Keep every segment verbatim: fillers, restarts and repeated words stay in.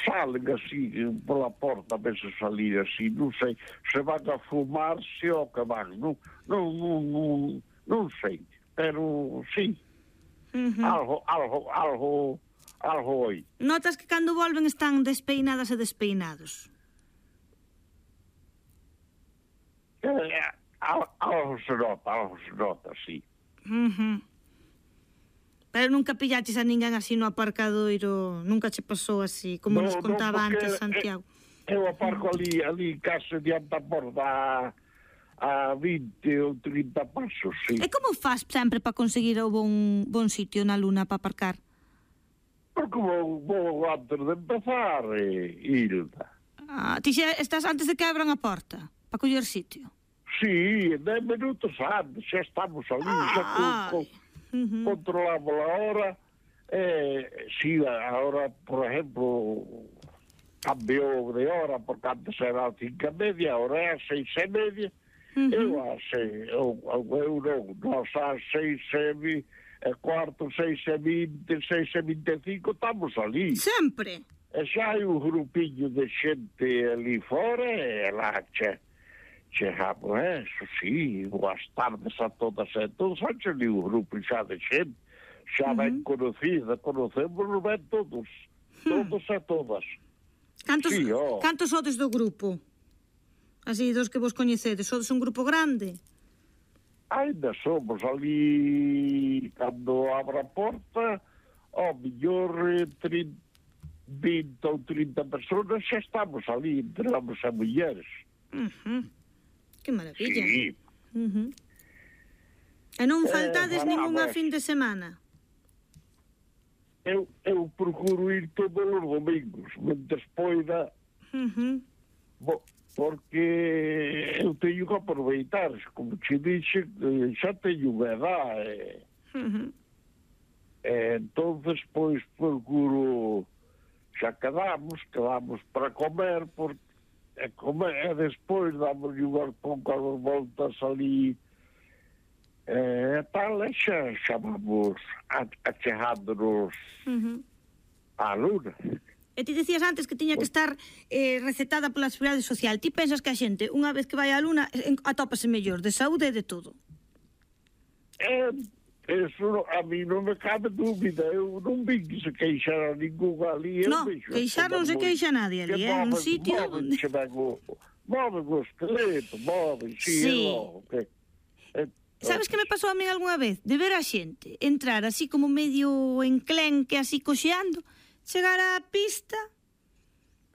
salen así pola porta, a veces salir así, non sei, se van a fumarse ou que van, non, non, non, non, non sei, pero sí, uh-huh. algo, algo, algo, algo oi. Notas que cando volven están despeinadas e despeinados? Eh, algo se nota, algo se nota, sí. Uh-huh. Pero nunca pillaches a ninguén así no aparcadoiro, nunca che pasou así, como no, nos contaba no, antes Santiago. Eu aparco ali, ali case diante a porta a vinte ou trinta pasos, sí. E como faz sempre para conseguir o bon, bon sitio na Luna para aparcar? Porque vou, vou antes de empezar, eh, Hilda. Ah, ti xa estás antes de que abran a porta, para coller sitio? Sí, dez minutos antes, xa estamos ali, ah, xa con... con Uh-huh. controlamos a hora, eh, si sí, ahora, por ejemplo, cambiou de hora, porque antes era a cinco e media, ahora é a seis e media, uh-huh. eu a seis, eu, eu non, nós a seis e cuarto, seis e vinte, seis e vinte e cinco, estamos ali. Sempre? E xa hai un grupinho de xente ali fora, e lá che chegamos, eh, eso sí, boas tardes a todas e todos, antes de un grupo xa de xente, xa uh-huh. ben conocida, conocemos ben todos, todos uh-huh. e todas. Cantos, sí, oh. cantos sodes do grupo? Así, dos que vos coñecedes, sodes un grupo grande? Ainda somos ali, cando abra a porta, ao mellor trinta, vinte ou trinta personas, xa estamos ali, entre homens e mulleres. Uh-huh. Que maravilla. Sí. Uh-huh. E non faltades eh, ningunha fin de semana? Eu, eu procuro ir todos os domingos, mentres poida, uh-huh. bo, porque eu teño que aproveitar, como te dixe, xa teño unha edad, uh-huh. e, entonces, pois, procuro, xa quedamos, quedamos para comer, porque e como é despois damos unhas poucas voltas ali e tal, e xa, xa vamos achegándonos uh-huh. á Luna. E ti decías antes que tiña que estar eh, recetada pola Seguridade Social. Ti pensas que a xente, unha vez que vai á Luna, atópase mellor de saúde e de todo? Eh, eso a mí non me cabe dúbida. Eu non vi que se queixara ningún ali. No, queixar non se queixa nadie ali, é un sitio onde... Moven o esqueleto, moven, sí, sí. Logo, que... Sabes que me pasou a mí algunha vez? De ver a xente entrar así como medio enclenque, así coxeando, chegar á pista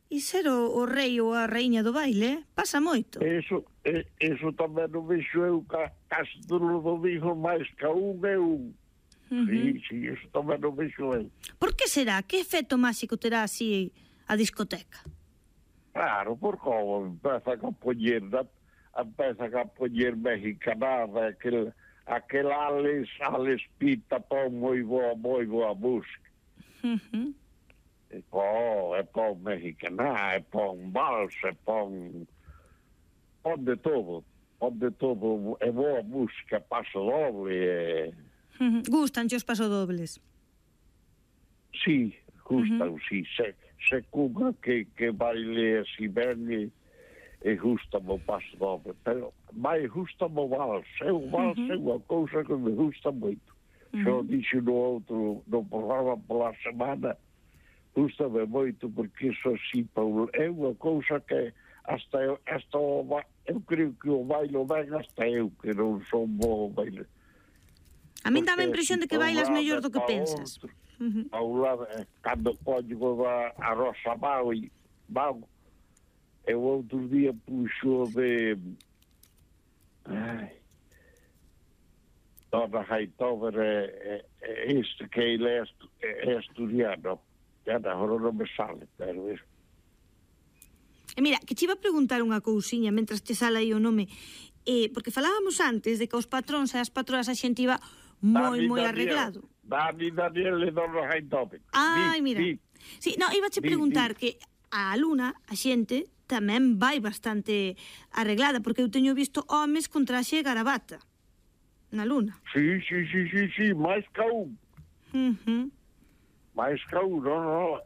e ser o, o rei ou a reiña do baile, eh? Pasa moito. Eso, eso tamén non vexo eu ca, casi todos os domingos máis ca un e un. Uh-huh. Sí, sí, eso tamén non vexo eu. Por que será? Que efecto máxico terá así a discoteca? Claro, porque empeza a poñer, empeza a poñer mexicanada, aquel, aquel Alex, Alex Pita pon moi boa, moi boa música. Uh-huh. E pon, e pon mexicana, e pon vals, e pon pon de todo, pon de todo, é boa música, paso doble, e... Uh-huh. Gustan os pasodobles? Sí, gustan, uh-huh. sí, se, se cunha que, que baile así ben e, e gusta o paso doble, pero vai gusta o vals, é o vals uh-huh. é unha cousa que me gusta moito. Uh-huh. Xo dixo no outro, no programa pola semana, gusta-me moito porque iso así, Paulo, é unha cousa que hasta eu, hasta o, eu creo que o bailo ben hasta eu, que non son bo baile. A min dá a impresión de que bailas mellor do que pensas. Uh-huh. Ao lado, cando coño a, a Rosa Mau e Mau, eu outro día puxo de ai, Dona Hightower é, é, este que ele é, é asturiano. Agora non me sale, pero isso. E mira, que te iba a preguntar unha cousiña mentras te sale aí o nome, eh, porque falábamos antes de que os patróns e as patroas a xente iba moi, moi arreglado. Dani, Daniel e Dona Hightower. Ai, mira. Di. Sí, no, iba a preguntar di, di. que a Luna, a xente, tamén vai bastante arreglada, porque eu teño visto homes con traxe e garabata na Luna. Sí, sí, sí, sí, sí, máis ca un. Uh-huh. máis ca un, non, non,